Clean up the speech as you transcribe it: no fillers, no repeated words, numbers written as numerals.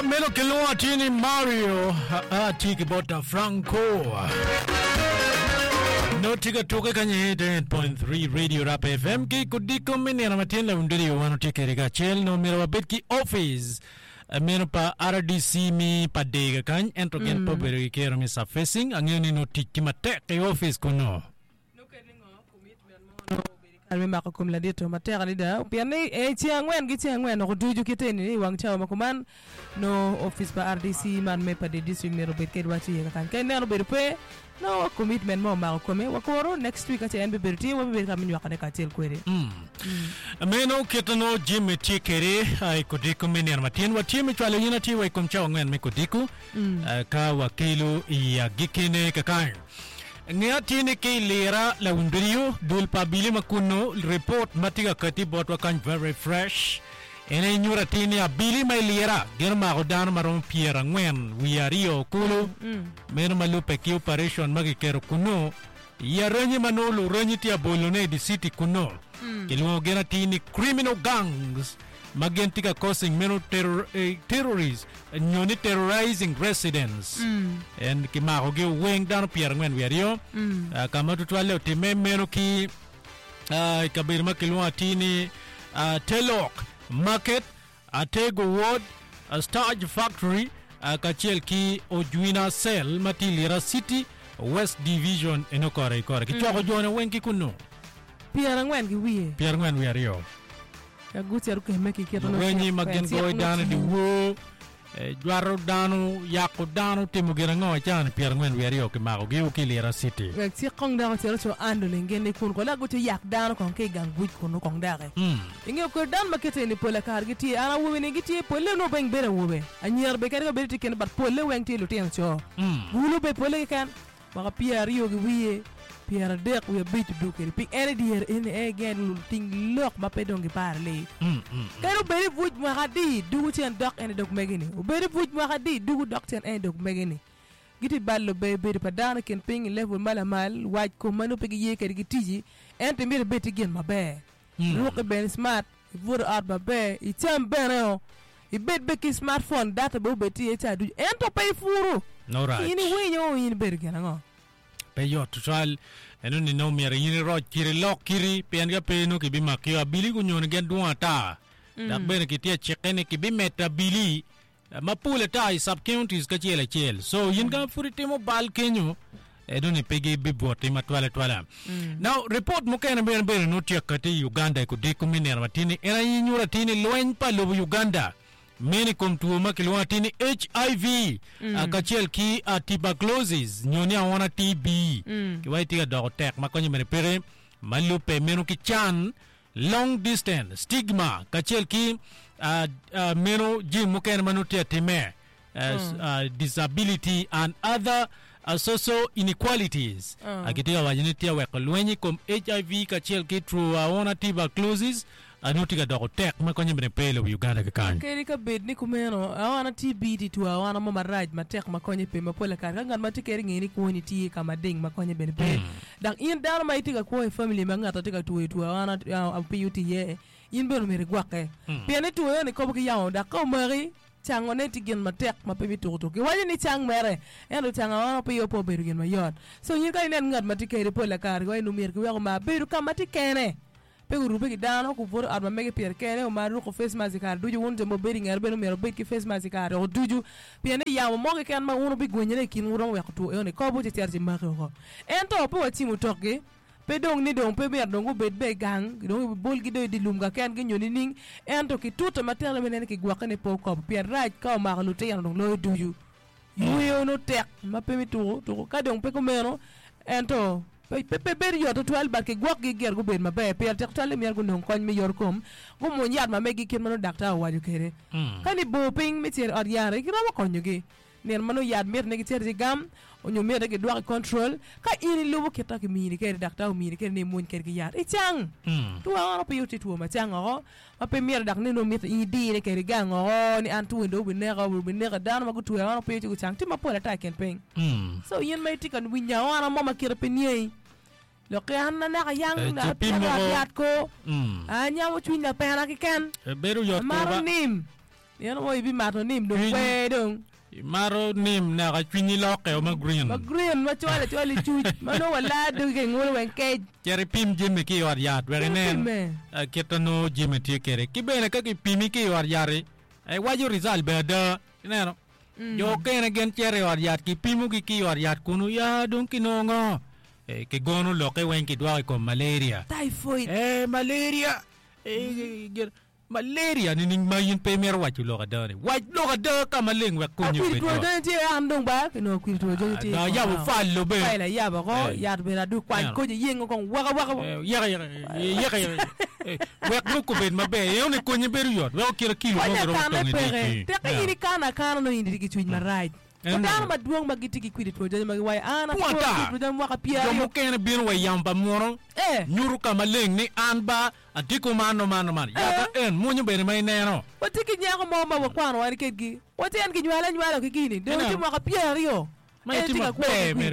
Meno kilwongo atir ni Mario atye ki bot Franco. Nongo tye ka tuke kany 88.3 Radio Rap FM ki kodiko me nino matin lawindodio wan watye kwede kacel nongo myero wabed ki office eh, meno pa RDC mi pa Dega kany ento gin pe obedo ki kero me surfacing angeyo ni nongo tic tye matek i office kuno. Kare me mako kom ladit-to matek adada pien ni i ceng angwen ki ceng angwen oko ducu kite ni i wang cawa ma kuman nongo opic pa RDC man me Pader District myero obed ked waco iye kakany. Ka ineno obedo pe, nongo commitment mo omako kome. Wakuru next week ka ce en bibedo tye wabibedo ka me nywakone kacel kwede. Meno kit ma nongo Jimmy tye kwede i kodiko me nino matin. Watye me cwalo in atir wa i kom cawa angwen me kodiko ka wakelo i agikkine kakany. Nge atir ni ki i lira lawiny biriyo, dul pa abili ma kunnu, ripot ma tye ka kati botwa kany very fresh, en aye nyuto atir ni abili ma i lira gin omako dano ma romo pyerangwen wiye aryo kulu, meno ma lubbe ki operation ma kiketo kunnu i aranyi ma nongo luranyi tye abolone i di city kunnu. Kilwongo gin atir ni criminal gangs ma gin tye ka causing meno terrorist nyo ni terrorizing residents. En kimakogi weng dano pyerangwen wiye aryo ka ma tutwalle otimme meno ki i kabedo ma kilwongo atir ni Telok Market, Atego Ward, Starch Factory kacel ki Ojwina Cell ma tye i Lira City, West Division eno kore ki kore. Kicoko jone weng ki kunnu. 40 ki wiye. 42. Ka gucito kemme ki kite nongo Lurwenyi cik ma pe gin cik goyo nongo dano i tiyo. dyewor, eh, jwato dano, yako dano, timo gin ango i caa-ni 42 kimakogi ki i Lira City. Wek cik kong dok ocit oco andoling gin ni kun kong dok guco yak dano kong ki i gang buc kunu kong doki. Ingeyo kodi dano ma kite eni pola kare gitye an awobe ni gitye polle nongo weng bedo awobe, anyira bene kadi ka bedo tye kene but polle weng tye lutino co. Gulo bene polle keken. Mwaka pyeraryo ki wiye pyeradek wiye abic odwogo kwede piny. En i dyere eni en gin luting lok ma pe dong giparo li. Kadi obed i buc mwaka adi, dugo cen dok en i dog megi-ni. Obed i buc mwaka adi, dugo dok cen en i dog megi-ni. Gitye balo ber bedo pa dano i kin piny i level ma lamal, wac kom ma nongo pe giye kwede ki ticci, ento imito ibed ki gin maber. Ruki bene smart, ibut i ot maber, icam bene-o, ibed bene ki smart phone, data bene obed tye iye ca ducu, ento pe ipuru. No rac. In iwinyo in ibedo gin ango? Pe yot tutwal. Eno ni nongo myero in iroc kiti, ilok kiti, pien ka pe nongo kibimakio. Abili gunyoni gin dwong ata, dok bene kitye acikke ni kibimedo abili mapol ata i sub counties kacel acel. So in ka pud itimo bal kenyo, eno ni pe gibibwoti matwal atwala. Now report mukene bene bene nongo tye kati i Uganda i kodiko me nino matin ni en aye nyuto atir ni lweny pa lobo Uganda meno i kom two ma kilwongo atir ni HIV kacel ki tuberculosis nyo ni aona TB kiwaco tye ka doko tek ma konye bene peke ma lubbe meno ki can long distance stigma kacel ki meno jami mukene ma nongo tye atime disability and other social inequalities. Gitye ka waco ni tye ka weko lweny i kom HIV kacel ki two aona tuberculosis nongo tye ka doko tek ma konye bene pe i lobo Uganda kikany. Kadi ka bed ni kumeno, aona TB tye two aona mo marac matek ma konye pe ma pol kare ka ngat ma tye kede ngeyo ni kwoni tye ka mading ma konye bene pe. Dok in dano ma itye ka kwo i famili ma ngat tye ka twoyo two aona opiyo tye iye, in bene omyero igwokke. Pien ni two eno ikobo ki yamo dok ka omaki, cangone tye gin matek ma pe bituko tuko. Kiwaco ni cang mere, ento cango aona opiyo pe obedo gin mayot. So in ka inen ngat ma tye kede pol kare kiwaco ni omyero kiwek omar bedo ka ma tye kene. Pe gurubbe ki dano, gubuto i ot ma mege pire kene, omar ruko face mask i kare ducu. Wun jo ma wubedo i ngete bene omyero wubed ki face mask i kare ducu, pien ni yamo mo keken ma wun wubigwenyone i kinwu romo weko two enoni kobo ci cito ci maki woko. Ento pe wacimo tokgi, pe dong ni dong pe myero dong gubed bene i gang, dong ibolgi dong i dye lum kakengi nyo nining, ento kitute matek me neno ni kigwokke ni pe okobo, pien rac ka omako lutino dong loyo ducu. Yweyo nongo tek ma pe me tuko tuko ka dong pe kumeno ento pe pe bedo yot tutwal but kigwokgi gire gubed maber pire tek tutwal ni myero gunong kony me yot kom gumwony yat ma megi kit ma nongo daktar owaco kwede. Ka ni bor piny me cito i ot yat giromo konyogi nino ma nongo yat miti ni gicit i gam onyo miti ni gidwok i control ka in ilubo kit ma kimini kwede daktar omini kwede ni imwony kwede ki yat icang. Two ango piyo tye two ma cang oko Ma pe myero dok ni nongo mitte in idine kede gang oko ni an two dong obineka obineka dano ma gutweyo aona piny ci gucang tye mapol ata i kin piny. So in ma itye ka winyo aona mo ma kite pe niangi lok ki an anaka yang Eh, ci pi atyeko moko. yat ko anyamo cwiny lapena keken Bedo yot amato koba. nim. Nino mo ibimato nim dong Cwiny- kwer dong. Imato nim naka cwinyi lokke o ma green. Ma green ma cwalo acwala i cuc ma nongo walaa dogi ka ingolo weng kec. Cit ipim jami ki i ot yat wek inen Ipime. eh, kit ma nongo jami tye kwede. Ki bene ka kipimi ki i ot yat-ti, eh, iwaco result bene ada. Ineno? Jo okene gin cito i ot yat kipimogi ki i ot yat kunu ya dong kinongo ngo? Eh, kigono lokke weng kidwoko i kom malaria. Typhoid. Eh, malaria. Eh, gin- Malaria nining ma in pe imito waco lok ada ni? Wac lok ada ka maleng wek konyi Akwiri obed two yot. jonyo tye an dong ba kinongo akwiri two jonyo tye Dong ayabo file be. File ayabo oko Eh. yat bene adwogo kwany Neno. koco yengo kong waka waka. Eh, yeka yeka yeka yeka Eh, wek lok obed maber eno ni konyi bedo yot wek okit kilo mo Konyo giromo akana tongo i peke. dyegi. Teke in ikano akana nongo in itye ki cwiny marac. En Dano aye. madwong ma gitye ki kwidi two jonyo ma giwaco an Pwod atwo ata. kwidi two jonyo mwaka Jo pyeraryo. mukene bino wa i yamo pa muno, Eh. nyuto ka maleng ni an ba atye kuman man man. Yata en mwonyo bene ma ineno. Watye ki nyako mo ma wakwano wan kedgi. Watye en kinywale anywala ki gini. Dong Ineno? tye mwaka pyeraryo. Ma En itye tye ka kwo maber ki kwidi mere.